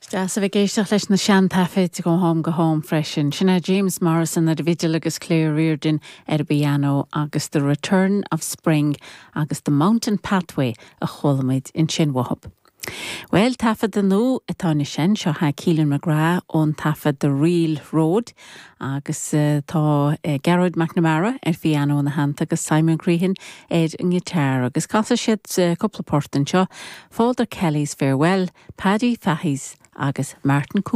Is deas a bheith ag éisteacht leis na seantaifid ó am go ham freisin. Sin é James Morrison ar an bhfidil agus Claire Riordan ar an bpianó agus The Return of Spring agus The Mountain Pathway a chuala muid ansin uathub. Bhuel, taifeadadh nua atá anois ann, seo é Keelan McGrath ón taifead The Reel Road agus tá Gearóid McNamara ar phianó ina theannta agus Simon Crehan ar an ngiotár agus casfaidh siad cúpla port anseo, Father Kelly's Farewell, Paddy Fahy's agus Martin.